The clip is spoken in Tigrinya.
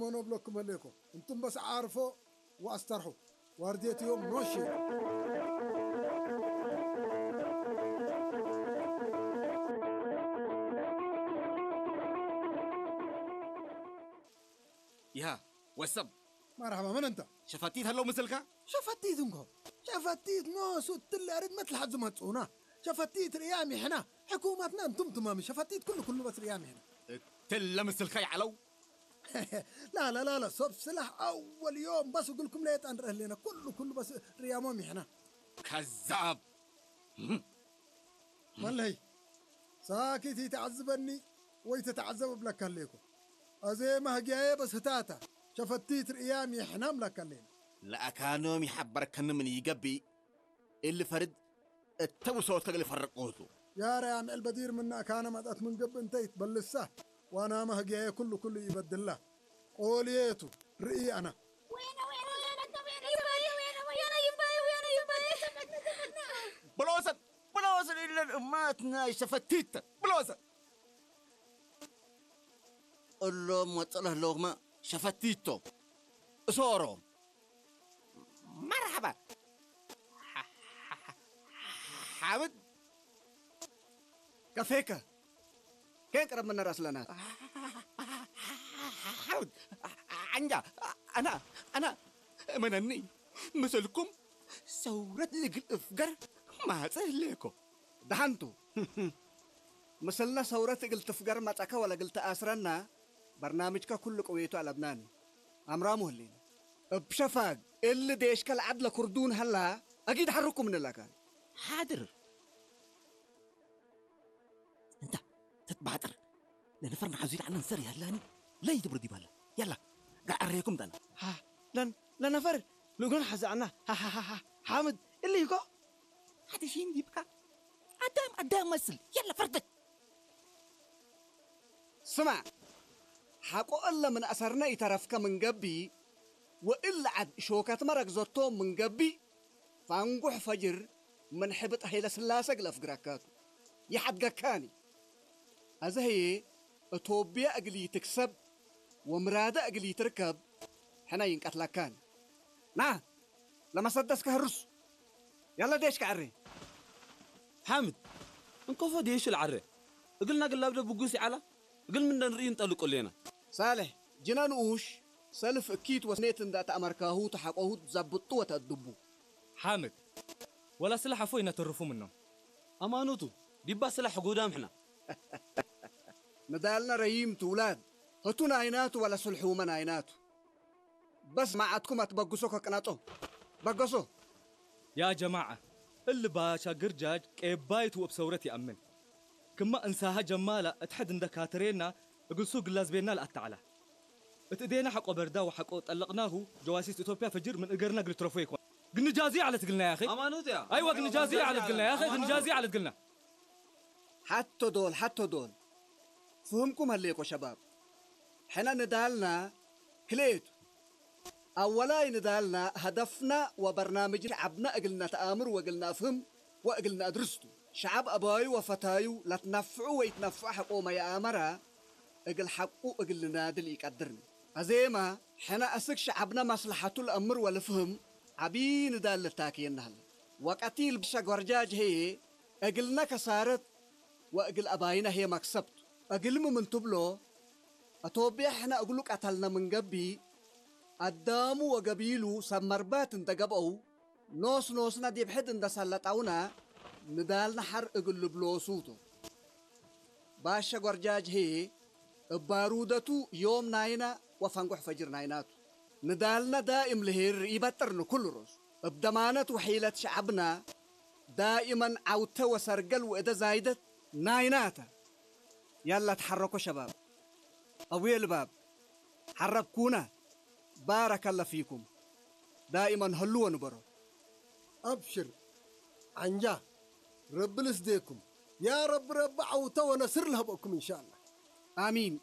መኖ ብለኩም ኣለኮ። እንቱም በስ ዓርፎ ወኣስተርሑ። ዋርድየት እዮም ኖሽ። ይሃ ወሰብ መርሓባ፣ መን እንተ? ሸፋቲት ኣለዉ ምስልካ? ሸፈቲት እንኮ። ሸፈቲት ኖሱ ትለርድ መትልሓት ዝመጽኡና። ሸፈቲት ርእያ ሚሕና። ሕኩማትና እንቱም ትማሚ ሸፈቲት ኩሉ ኩሉ በስ ርእያ ሚሕና። ትለ ምስልካ ይዓለው። ላላላላ፣ ሰብ ስላሕ ኣወል ዮም በስ እግልኩም ለየጣ ንረህ ሌና። ኩሉ ኩሉ በስ ርእያሞ ሚሕና። ከዛብ መለይ ሳኪት ይተዓዝበኒ ወይ ተተዓዘብ እብለካ ኣለይኮ። ኣዜ ማህጊያየ በስህታታ ሸፈቲት ርእያ ሚሕና እብለካ ኣለይና። ለኣካኖም ይሓበርከኒ ምን ይገብእ እሊ ፈርድ እተውሰወት ከግል ፈረቆቱ ያረ ኣምዕል በዲር ምና ካነ መጣት ምን ገብእ እንተ ይትበልሳ ዋና ማህጊያየ ኩሉ ኩሉ ይበድላ። ቆልየቱ ርእይ ኣና ብሎሰን ብሎሰን ኢለን እማት ናይ ሸፈቲተ ብሎሰን እሎም ወፅለህ ኣለኹማ ሸፈቲቶ እሶሮም መርሓባ ሓብድ كفيك كين قرب من راس لنا ሓብድ ዓንጃ ኣና ኣና እመነኒ ምስልኩም ሰውረት ልግል እፍገር ማፀ ህሌኮ دحنتو مثلنا ثورة قلت فقر ما تأكا ولا قلت آسرنا برنامجك كل قويته على بناني أمرامو هلين بشفاق اللي ديش كالعدل كردون هلا أكيد حركم من لكان ሓድር እንታ ተትባጥር ለነፈር ንዓዙ ኢልዓና ንሰር ያላኒ ለይ ትብርድ ይባላ ያላ ጋር ኣረየኩም ዳና ها لن لنفر لقون حزعنا ها ها ها ها حامد اللي يكو ሓደ ሺን ዲብካ ኣዳም ኣዳም መስል ያላ ፈርደክ ስማዕ ሓቆ እለ ምን ኣሰርነ ይተረፍከ ምን ገቢ ወእል ዓድ ሾከት መረግዘቶ ምን ገቢ ፋንጉሕ ፈጅር ምን ሕብጥ ሀይለ ስላሰ ግለፍ ግራካቱ ይሓድገካኒ ኣዘህየ እቶብያ እግሊ ትክሰብ ወምራደ እግሊ ትርከብ ሕነ ይንቀትለካኒ ና ለመሰደስ ከህርሱ ያለ ዴሽ ከዕሬ ሓምድ እንኮፎ ዴሽ ልዓረ እግልና ግላብደ ብጉስ ይዓላ እግል ምንደ ንርኢ እንጠልቁ ሌና ሳልሕ ጅነ ንኡሽ ሰልፍ እኪት ወስኔት እንዳ ተኣመርካሁ ተሓቆሁት ዛብጡ ወተእድቡ ሓምድ ወላ ስላሕ ኣፎ ይነተርፉ ምኖም ኣማኖቱ ዲባ ስላሕ ጎዳም ሕና ንዳልና ረይም ትውላድ ህቱ ናይናቱ ወላ ስልሑመ ናይናቱ በስ ማዓትኩም ኣትበግሶ ከቅናጦ በገሶ ያ ጀማዓ እሊ ባሻ ግርጃጅ ቀባይት ወብ ሰውረት ይኣምን ክማ እንሳሃ ጀማላ እትሐድ እንደ ካተሬና እግልሱ ግላዝቤና ለኣታዕላ እት እዴና ሐቆ በርዳ ወሐቆ ጠለቅናሁ ጀዋሲስ ኢትዮጵያ ፈጅር ምን እገርና ግልትረፎ ይኮን ግንጃዚ ዓለት ግልና ያኺ ኣማኖት ያ ኣይዋ ግንጃዚ ዓለት ግልና ያኺ ግንጃዚ ዓለት ግልና ሓቶ ዶል ሓቶ ዶል ፍህምኩም ሀሌኮ ሸባብ ሕነ ንዳልና ክልኤቱ ኣወላይ ንዳልና ሀደፍና ወበርናምጅ ሸዓብና እግል ነተኣምር ወእግል ነፍህም ወእግል ነእድርስቱ ሸዓብ ኣባዩ ወፈታዩ ለትነፍዑ ወይትነፍዑ ሐቆመ የኣመራ እግል ሐቁ እግል ንናድል ኢቀድርኒ ኣዜማ ሕነ እስክ ሸዓብና መስለሐቱ ለእምር ወልፍህም ዓቢ ንዳል ልታክየና ሀለ ወቀቲል ብሸ ጓርጃጅ ሄየ እግልነ ከሳረት ወእግል ኣባይነ ሄ መክሰብቱ እግልም ምን ትብሎ ኣቶብያ ሕነ እግሉ ቀተልነ ምን ገቢ ኣዳሙ ወገቢሉ ሰብ መርባት እንተ ገብአው ኖስ ኖስነ ዲብ ሕድ እንደ ሰለጠውነ ንዳልነ ሐር እግል ልብሎሱቶ ባሸ ጓርጃጅ ሄ እብ ባሩደቱ ዮም ናይነ ወፈንጎሕ ፈጅር ናይናቱ ንዳልነ ዳእም ልሄር ይበጥር ንኩሉ ሮሱ እብ ደማነት ወሒለት ሸዐብነ ዳእመን ዐውተ ወሰርገል ወእደ ዛይደት ናይናተ ያላ ተሐረኮ ሸባብ አቡየ ልባብ ሐረብኩነ ባረከለ ፊኩም ዳእመን ሀሉ ወንበሮ أبشر عنجا رب لسديكم يا رب رب عوته ونصر لهبكم إن شاء الله አሚን